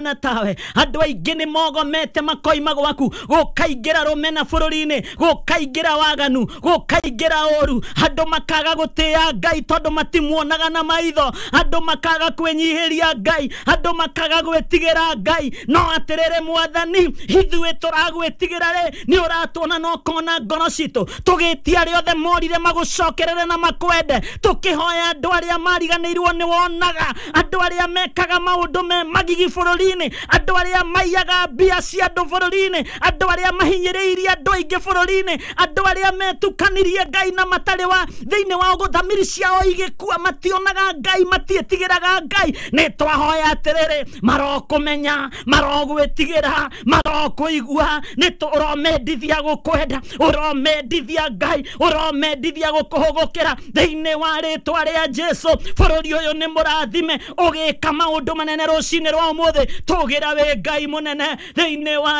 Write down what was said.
Na tawe andũ aingĩ nĩ mogomete makoima gwaku, gũkaingĩra rũmena bũrũri-inĩ, gũkaingĩra waganu, gũkaingĩra ũru, andũ makaga gũtĩĩa Ngai tondũ matimuonaga na maitho, andũ makaga kwĩnyihĩria Ngai, andũ makaga gwĩtigĩra Ngai. No atĩrĩrĩ Mwathani, ithuĩ tũragwĩtigĩra rĩ, nĩ ũratuona na ũkona ngoro citũ, tũgĩtia arĩa othe morire magũcokerere na makwende, tũkĩhoya andũ arĩa mariganĩirwo nĩ wonaga, andũ arĩa mekaga maũndũ me magigi bũrũri-inĩ, andũ arĩa maiyaga mbia cia andũ bũrũri-inĩ, andũ arĩa mahinyĩrĩirie andũ aingĩ bũrũri-inĩ, andũ arĩa metukanirie Ngai na matarĩ wa thĩinĩ wa thamiri ciao igĩkua, mationaga Ngai, matiĩtigĩraga Ngai. Nĩ twahoya atĩrĩrĩ, marokũmenya, marogwĩtigĩra, marokũigua, nĩ ũromendithia gũkwenda, ũromendithia Ngai, ũromendithia gũkũhũgũkĩra thĩinĩ wa rĩtwa rĩa Jesu. Bũrũri ũyũ nĩ mũrathime, ũgĩka maũndũ manene rũcinĩ rwa ũmũthĩ, tũgĩra wĩ Ngai mũnene thĩinĩ wa